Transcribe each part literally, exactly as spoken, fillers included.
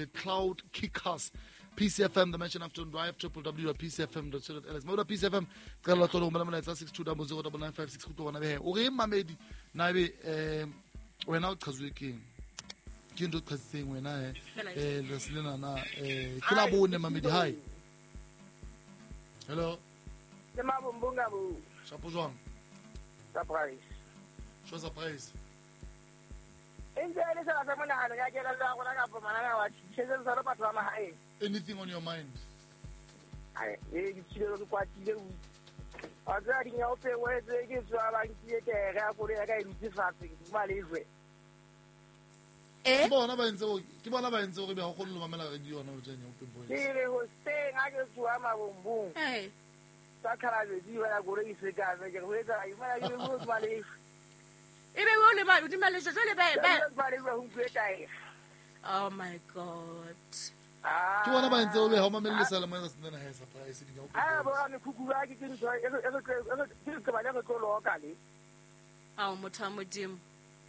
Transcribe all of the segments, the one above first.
the Cloud Kickers. P C F M, the Mansion Afternoon Drive, w w w dot p c f m dot co dot l s. Mo P C F M, qala tlo romela molaetsa six two zero zero nine nine five six go bona be. O re mamedi na be eh wena o qhazuwe keng? Ke ntho qhazitseng wena eh eh le lena na eh ke la bone mamedi hi. Hello. Le mabombonga bo. Shapo jwang? Surprise. Sho surprise. Anything on your mind? I ke bona ba entse ke bona ba entse hore be ha o kgone ho mamela radio yona o tjena open voice. Ke re ho seng ha ke tswa mabombong. Eh. Sa khalabedi ba ya gore iseka ke re ho etsa imana ke go tswa le. Ebe o le ba di malesho jwale ba ba ba le ho utlwe. Oh my God. Ke bona ba entse o be ha o mamelle sala mo sa tsena ha surprise di open. Ah bo me khuku ba ke ke ntho e re ke ke ba le re tlo loka le. Ao motho wa Modimo.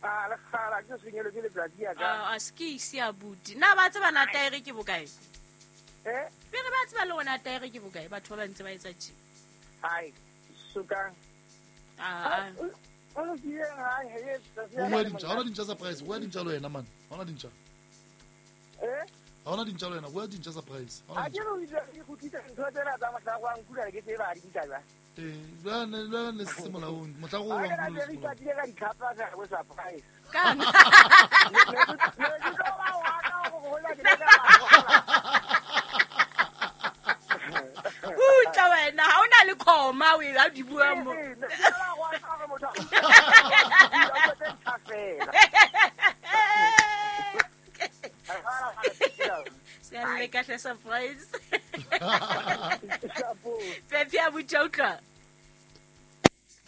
Ah le kgala ke senyelo ke letsatsi ya ka. Ah a ski se abuti. Na ba tseba na taere ke bokae? Eh? Pere ba tseba le ona taere ke bokae batho ba ba ntse ba etsa tje. Hai, suka. Ah. O lo ke ha he O bua dintja, ha ona dintja surprise, bua dintja le wena man. Ha ona dintja. Eh? Ha ona dintja le wena, bua dintja surprise. Ha ke re o itse ke khutlisa ntho tsena tsa mohla go nkula ke tseba di dintja ba. Eh, ba ne ba ne se molaong, mohla go wa nkula. Ke re ke ka dikhapa tsa go surprise. Kang. Utla wena, ha ona le khoma o e di bua mo. Se le ka surprise. Pepe a butša utlwa.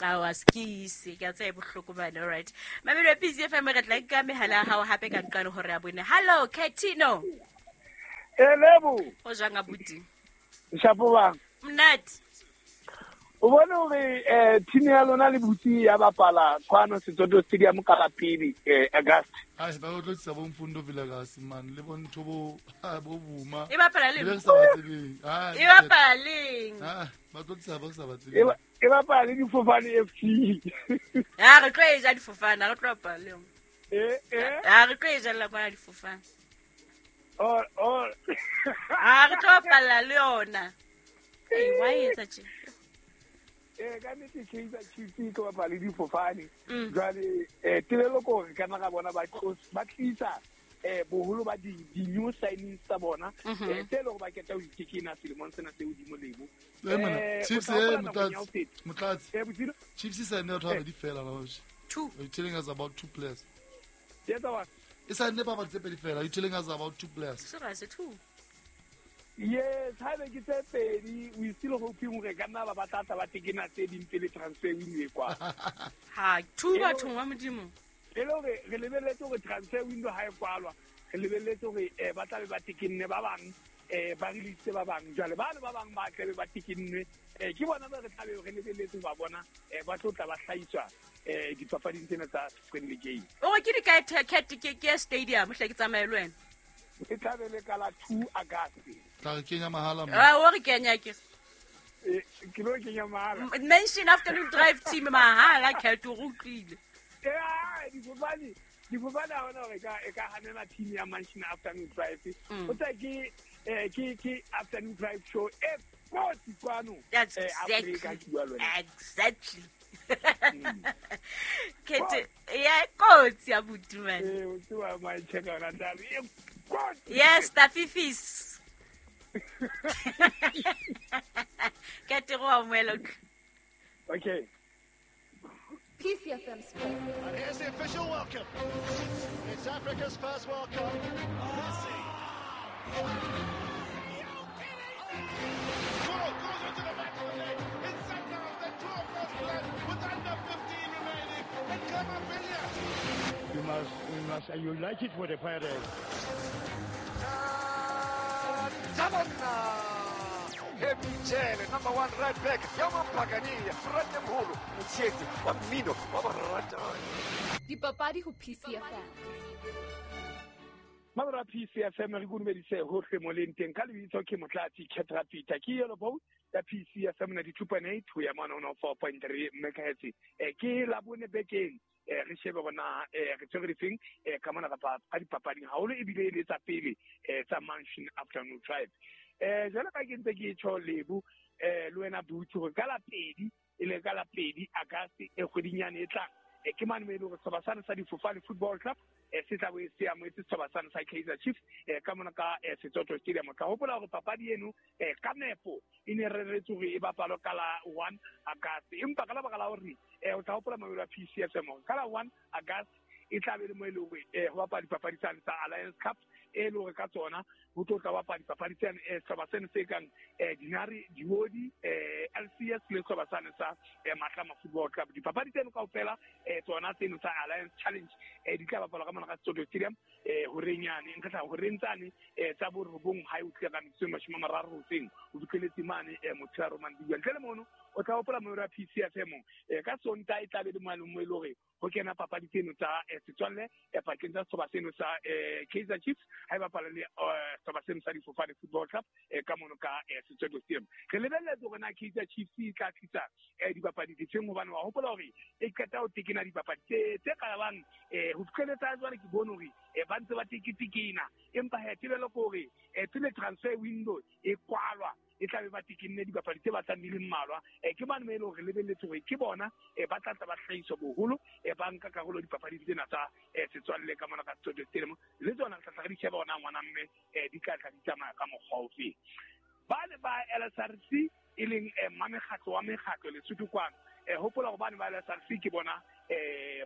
Awa skisi ka tse bohloko bana, all right. Mamelo P C F M re tla ka mehala ya hao hape ka nqane hore ya bone. Hello Katino. Elebo. O jwang abuti? Shapo bang. Mnati. O bone hore eh team ya lona le butsi ya bapala kwano Setsoto Stadium ka la pele eh August. Ai ba o tlo tsaba Mfundo Vilakazi man le bontho bo bo buma. E bapala le. Le sa ba tsebeng. Ah. E bapala leng. Ah, ba tlo tsaba sa ba tsebeng. E bapala le difofane F C. Ah, re tlo e ja difofane, re tlo bapala le. Eh eh. Ah, re tlo e ja la kwana difofane. Oh oh. Ah, re tlo bapala le yona. Ei, why etsa tje? Eh ka nnete Kaizer Chiefs ke bapala le difofane. Jwale eh tebelo ko re kana ga bona ba ba tlisa eh boholo ba di new signings tsa bona eh tse le go ba keta ho itekena selemong sena se hodimo lebo. Eh Chiefs eh motlatsi motlatsi. Eh botino Chiefs e saene batho ba di fela la hoje. Two. Are you telling us about two players? Yes, wa. E saene ba ba tse pedi fela. Are you telling us about two players? Sera se two. Yes, ha be ke tse pedi, we still hoping hore ka nna ba batla ba tekena tse ding pele transfer window e kwa. Ha, two bathong wa Modimo. E le hore re lebelletse hore transfer window ha e kwalwa, re lebelletse hore eh ba tla be ba tekenne ba bang, eh ba release ba bang. Jwale ba le ba bang ba tla be ba tekenne, eh ke bona ba re tla be re lebelletse ba bona, eh ba tlo tla ba hlahiswa eh dipapading tsena tsa friendly game. O re ke di kae cat ke ke stadium hle ke tsamaye le wena. E tla be le ka la two August. Tla re kenya mahala mo. Ah, o re kenya ke. Eh, ke lo kenya mahala. Mention Afternoon Drive team mahala cat o utlwile. Eh, difofane, difofane ha ona hore ka e ka hanela team ya Mansion Afternoon Drive. O tla ke eh ke ke Afternoon Drive show e kotsi kwano. Eh Afrika ke bua le wena. Exactly. Kete ya kotsi ya buti man. Eh, o tswa my check ona taba. Yes, tafifis. Kete go amoela. Okay. P C F M Sports. And here's the official welcome. It's Africa's first World Cup. Messi. Goal goes into the back of the net. It's Sundowns that draw first blood with under fifteen remaining. And Kamavilia. You must, you must, and you like it for the Pirates. Heavy number one right back, Yaman Pagani, Ratemholo, Mtsieti, Wamino, Wabarata. Dipapadi ho P C F M. Mabra P C F M re dumedise hohle mo leng teng ka lebitso ke Motlatsi Ketra Peter ke yelo bo ya P C F M ninety-two point eight ho ya mona one oh four point three megahertz e ke la bone bekeng e re shebe bona e re tshwere difeng e ka mona kapa ka dipapading haholo ebile e le tsa pele e tsa Mansion Afternoon Drive e jwale ka ke ntse ke tjho Lebo e le wena Butho ka la pedi e le ka la pedi August e kgwedinyane e tlang e ke mane mo e le hore sehlopha sane sa Difofane Football Club e se tla bo e se amohetse sehlopha sane sa Kaizer Chiefs e ka mona ka Setsoto Stadium. Tla hopola hore papadi eno e ka nepo e ne reretswe hore e bapalwe ka la one August, empa ka lebaka la hore e o tla hopola mabelo a P C F M ka la one August e tla be le mo e le hore ho bapala dipapadi tsane tsa Alliance Cup e le hore ka tsona ho tlo tla bapala dipapadi tsane sehlopha seno se kang Dinari, Diodi, L C S le sehlopha sane sa Matlama Football Club. Dipapadi tseno kaofela tsona tseno tsa Alliance Challenge di tla bapalwa ka mona ka Setsoto Stadium horeng yane nka tla horeng tsane tsa borobong ha e utlwe ka metsotso e mashome a mararo hoseng o fihleletse mane motshehare mantsibuya. Ntle le mono o tla hopola moero wa P C F M ka Sontaha e tla be le moalo mo e le hore ho kena papadi tseno tsa setswalle pakeng tsa sehlopha seno sa Kaizer Chiefs ha e bapala le sehlopha seno sa Difofane Football Club ka mono ka Setsoto Stadium. Re lebelletse hore na Kaizer Chiefs e tla tlisa dipapadi difeng hobane wa hopola hore e qeta ho tekena dipapadi tse tse qalabang ho fihlelletsa jwale ke bone hore ba ntse ba teketekena, empa he tebelo ke hore pele transfer window e kwalwa e tla be ba tekenne dipapadi tse batlang di le mmalwa. Ke bane mo e leng hore lebelletse hore ke bona ba tla tla ba hlahiswa boholo ba nka karolo dipapading tsena tsa setswalle ka mona ka Setsoto Stadium. Le tsona re tla tla re di sheba hona ngwana mme di tla tla di tsamaya ka mokgwa ofe. Ba ne ba L S R C e leng mmamekgatlo wa mekgatlo Lesotho kwano, hopola hore bane ba L S R C ke bona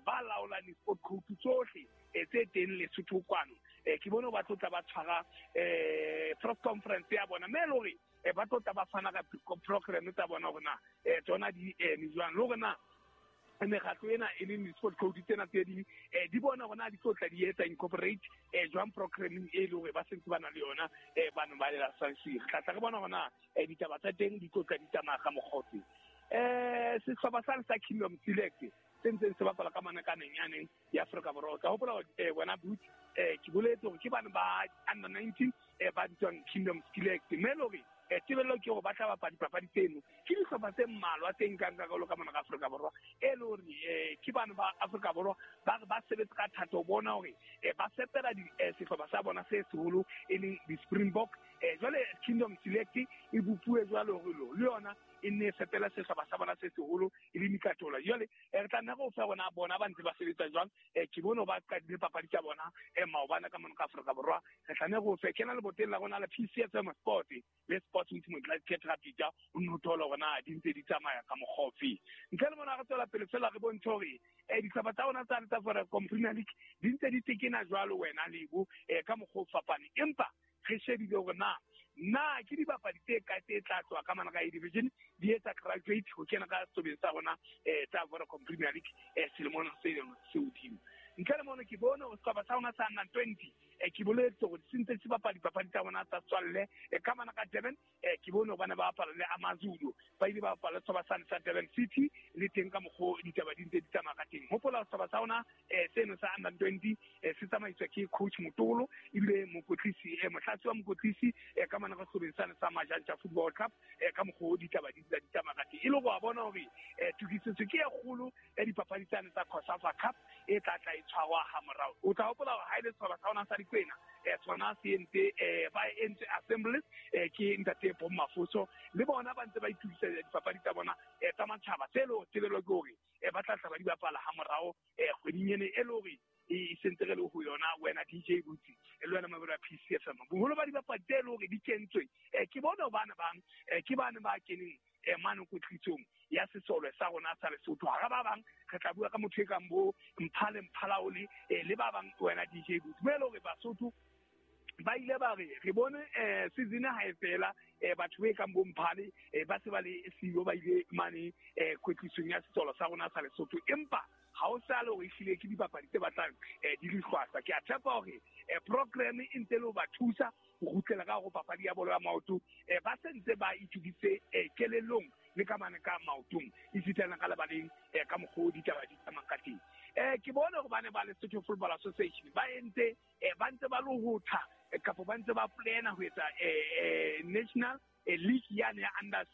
ba laolang di-sport code tsohle tse teng Lesotho kwano. Ke bone ba tlo tla ba tshwara press conference ya bona mme e le hore ba tlo tla ba fana ka program tsa bona hore na tsona di eme jwang, le hore na mekgatlo ena e leng di-sport code tsena tse ding di bona hore na di tlo tla di etsa incorporate jwang programming e le hore ba sentse ba na le yona bano ba lela sansi. Re tla tla re bona hore na ditaba tsa teng di tlo tla di tsamaya ka mokgwa ofe. Sehlopha sane sa Kingdom Select se ntseng se bapala ka mane ka neng ya Afrika Borwa. Ka hopola wena Butch ke boletse hore ke bana ba under nineteen ba bitswang Kingdom Select mme le hore tebello ke hore ba tla bapala dipapadi tseno ke dihlopha tse mmalwa tse nkang karolo ka mona ka Afrika Borwa e le hore ke bana ba Afrika Borwa ba re ba sebetse ka thata ho bona hore ba fepela sehlopha sa bona se seholo e leng di-Springbok. Jwale Kingdom Select e bopuwe jwalo hore le yona e nne e fepela sehlopha sa bona se seholo e le Mikatola. Jwale re tla nna re o fa rona bona ba ntse ba sebetsa jwang. Ke bone ba qadile papadi tsa bona maobane ka mona ka Afrika Borwa. Re tla nne re o fe kena leboteng la rona la P C F M Sport le Sports with Motlatsi Ketra Peter o nno thola hore na di ntse di tsamaya ka mokgwa ofe. Ntle le mona re tswela pele fela re bontshe hore dihlopha tsa rona tsa tsa Vodacom Premier League di ntse di tekena jwalo wena Lebo ka mokgwa o fapaneng, empa re shebile hore na na ke dibapadi tse kae tse tla tloha ka mona ka A division di etsa graduate ho kena ka sehlobeng sa rona tsa Vodacom Premier League selemong se leng se hodimo. Ntle le mono ke bone hore sehlopha sa rona sa under twenty ke boletse hore se ntse se bapala dipapadi tsa bona tsa setswalle ka mona ka Durban. Ke bone hore bana ba bapala le AmaZulu, ba ile ba bapala le sehlopha sane sa Durban City le teng ka mokgwa ditaba di ntse di tsamaya ka teng. Hopola sehlopha sa rona seno sa under twenty se tsamaiswa ke coach Motolo ebile mokotlisi motlatsi wa mokotlisi ka mona ka sehlobeng sane sa Majantja Football Club ka mokgwa ditaba di ntse di tsamaya ka teng. E le hore wa bona hore tokisetso ke e kgolo ya dipapadi tsane tsa COSAFA Cup e tla tla e tshwarwa ha morao. O tla hopola hore ha e le sehlopha sa rona sa Dikwena tsona se entse ba entse assemblies ke ntate Bo Mafoso le bona ba ntse ba itukisetsa dipapadi tsa bona tsa matjhaba tse le tebelo ke hore ba tla tla ba di bapala ha morao kgweding ene e le hore e sentse re le ho yona wena D J Butsi le wena mabelo a P C F M. Boholo ba dibapadi tse le hore di kentswe ke bona bana bang ke bana ba keneng mane kwetlisong ya sesole sa rona sa Lesotho. Hara ba bang re tla bua ka motho e kang bo Mphale Mphalaole le ba bang wena D J Butsi mo e le hore Basotho ba ile ba re re bone season ha e fela batho ba kang bo Mphale ba se ba le siyo ba ile mane kwetlisong ya sesole sa rona sa Lesotho, empa ha o sa le hore ehlile ke dibapadi tse batlang di le hlwahlwa. Ke a tshepa hore program e ntse le ho ba thusa ho kgutlela ka hore papadi ya bolo ya maoto ba sentse ba itokisitse kelellong le ka mane ka maotong esitana ka lebaleng ka mokgwa o ditaba di tsamayang ka teng. Eh ke bone hore ba ne ba Lesotho Football Association ba entse eh ba ntse ba lohotha kapa ba ntse ba plana ho etsa eh national league yane ya under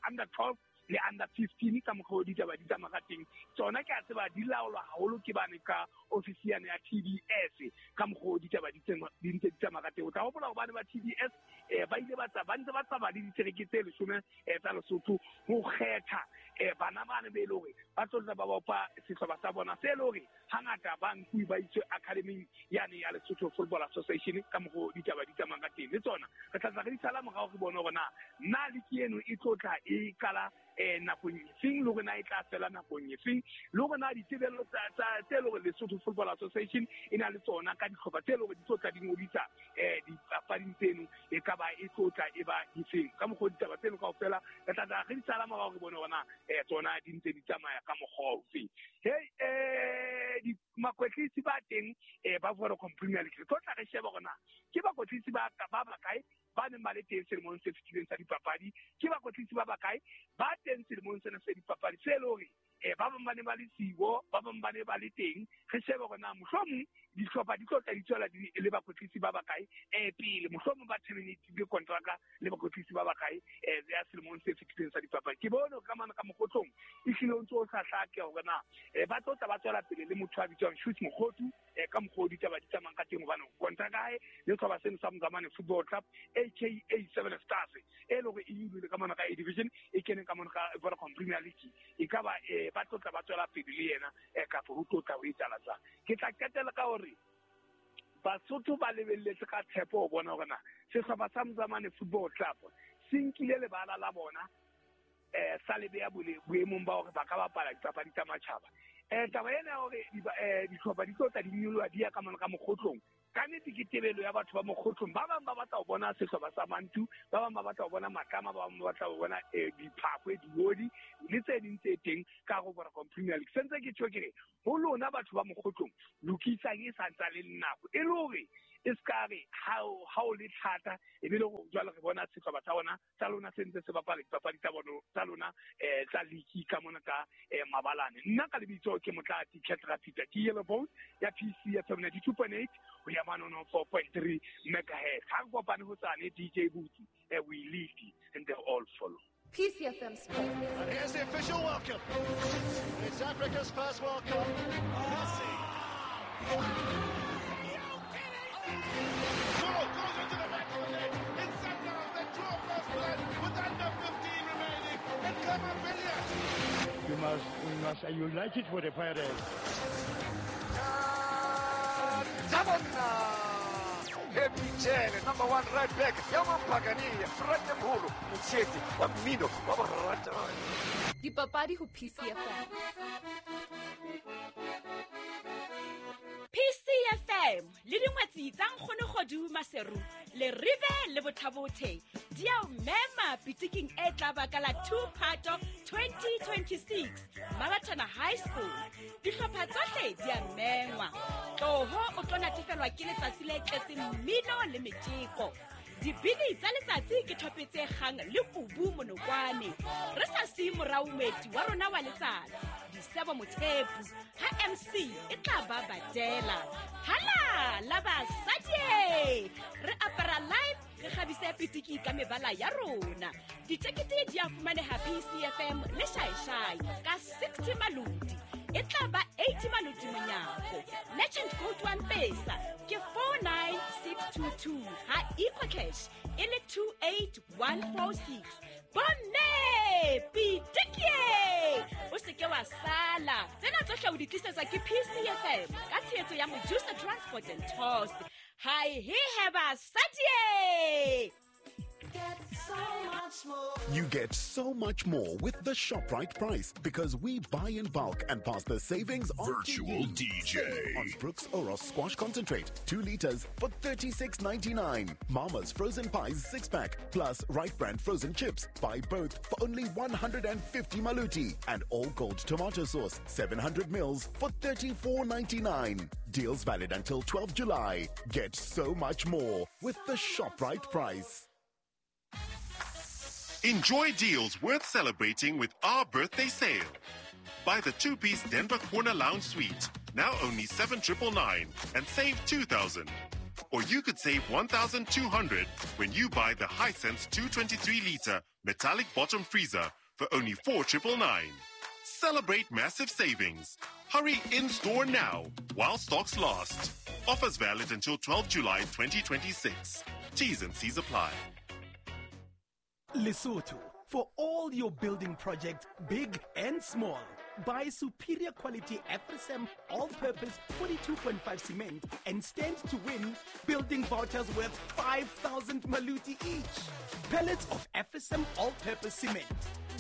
under twelve le under fifteen ka mokgwa o ditaba di tsamaya ka teng. Tsona ke a tseba di laolwa haholo ke bane ka ofisi yane ya T D S ka mokgwa o ditaba di di ntse di tsamaya ka teng. O tla hopola hobane ba T D S eh ba ile ba tsa ba ntse ba tsamaya le ditereke tse leshome tsa Lesotho ho kgetha eh bana bane be le hore ba tlo tla ba bopa sehlopha sa bona se le hore hangata ba nkuwe ba iswe academy yane ya Lesotho Football Association ka mokgwa o ditaba di tsamaya ka teng. Le tsona re tla tla re di sala morao re bone hore na na league eno e tlo tla e qala eh nakong efeng le hore na e tla fela nakong efeng le hore na ditebello tsa tse le hore Lesotho Football Association e na le tsona ka dihlopha tse le hore di tlo tla di ngodisa eh dipapading tseno e ka ba e tlo tla e ba difeng ka mokgwa ditaba tseno kaofela re tla tla re di sala morao re bone hore na eh tsona di ntse di tsamaya ka mokgwa ofe. Hey eh di makwetlisi ba teng eh ba Vodacom Premier League re tlo tla re sheba hore na ke bakwetlisi ba ba bakae ba neng ba le teng selemong se fetileng sa dipapadi, ke bakwetlisi ba bakae ba teng selemong sena sa dipapadi se le hore eh ba bang ba ne ba le sibo, ba bang ba ne ba le teng. Re shebe hore na mohlomong dihlopha di tlo tla di tswela di le bakwetlisi ba bakae eh pele mohlomong ba terminate kontraka le bakwetlisi ba bakae eh ya selemong se fetileng sa dipapadi. Ke bone ka mana ka mokgotlong e hlile o ntse o sa hlake hore na eh ba tlo tla ba tswela pele le motho a bitswang Shoot Mokgothu eh ka mokgwa o ditaba di tsamayang ka teng hobane kontraka hae le sehlopha seno sa Mzamane Football Club aka Seven Stars e le hore e nyolohile ka mona ka A Division e kene ka mona ka Vodacom Premier League e ka ba eh ba tlo tla ba tswela pele le yena eh kapa ho tlo tla ho etsahala jwang. Ke tla qetela ka hore Basotho ba lebelletse ka tshepo ho bona hore na sehlopha sa Mzamane Football Club se nkile lebala la bona eh sa le beya boemong ba hore ba ka bapala dipapadi tsa matjhaba. Eh taba ena ya hore dihlopha di tlo tla di nyoloha di ya ka mona ka mokgotlong ka nnete ke tebelo ya batho ba mokgotlong. Ba bang ba batla ho bona sehlopha sa Mantu, ba bang ba batla ho bona Matlama, ba bang ba batla ho bona diphakwe, diodi le tse ding tse teng ka ho Vodacom Premier League. Sentse ke tjho ke re ho lona batho ba mokgotlong lokisang e sa ntsa le nako e le hore e ska re ha o le thata e be le hore jwale re bona sehlopha sa bona sa lona se ntse se bapala dipapadi tsa bona tsa lona eh tsa league ka mona ka mabalane. Nna ka lebitso ke Motlatsi Ketra Peter ke Yellow Bone ya P C F M ninety-two point eight ho ya manono four point three megahertz. Ha re kopane ho tsane D J Booty eh we lead and they all follow. P C F M Sports. And here's the official welcome. It's Africa's first World Cup. Messi. Goal goes into the back of the net. It's Sundowns that draw first blood with under fifteen remaining. And Clement Billiard. You must, we must unite it for the Pirates. Heavy number one right back. Yaman Pagani, Frate Mholo, Motsheti, wa mmino wa boratani. Dipapadi ho P C F M. P C F M le dingwetsi tsa Nkgono Kgodu Maseru le Rive le Bothabothe di a o mema pitiking e tla ba ka la two Phato twenty twenty-six Mabatana High School. Dihlopha tsohle di a mengwa. Tloho o tlo natefelwa ke letsatsi le tletseng mmino le metjeko. Dibini tsa letsatsi ke thope tse kgang le kubu monokwane. Re sa siye morao moeti wa rona wa letsatsi Disebo Mothepu ha M C e tla ba badela. Hala la basadi re apara live re kgabise pitiki ka mebala ya rona. Ditekete di a fumaneha P C F M le Shaishai ka sixty malodi. E tla ba eighty malodi monyako. Legend code one pesa ke four nine six two two ha EcoCash e le two eight one four six. Bomme pitiki o se ke wa sala. Tsena tsohle o di tlisetswa ke P C F M ka tshehetso ya Mojusa Transport and Tours. Hi he heba sadie. Get so much more. You get so much more with the ShopRite price because we buy in bulk and pass the savings on Virtual to you. D J. Save on Brooks Oros Squash Concentrate, two liters for thirty-six ninety-nine. Mama's Frozen Pies six pack plus Right Brand Frozen Chips. Buy both for only one hundred fifty maluti. And All Gold Tomato Sauce, seven hundred mils for thirty-four ninety-nine. Deals valid until twelfth July. Get so much more with the ShopRite price. Enjoy deals worth celebrating with our birthday sale. Buy the two-piece Denver Corner Lounge Suite now only seven triple nine, and save two thousand. Or you could save one thousand two hundred when you buy the Hisense two twenty-three litre metallic bottom freezer for only four triple nine. Celebrate massive savings. Hurry in-store now while stocks last. Offers valid until twelfth July twenty twenty-six. T's and C's apply. Lesotho, for all your building projects, big and small. Buy superior quality Afrisem all-purpose forty-two point five cement and stand to win building vouchers worth five thousand maluti each. Pallets of Afrisem all-purpose cement,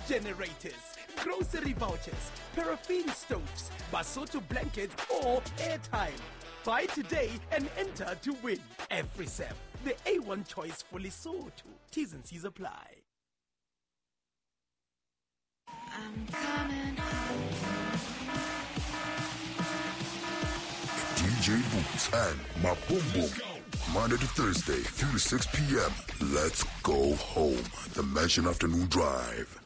generators, grocery vouchers, paraffin stoves, Basotho blankets or airtime. Buy today and enter to win. Afrisem, the A one choice for Lesotho. T's and C's apply. I'm coming home. D J Boots and Maboom. Monday to Thursday, three to six p.m. Let's go home. The Mansion Afternoon Drive.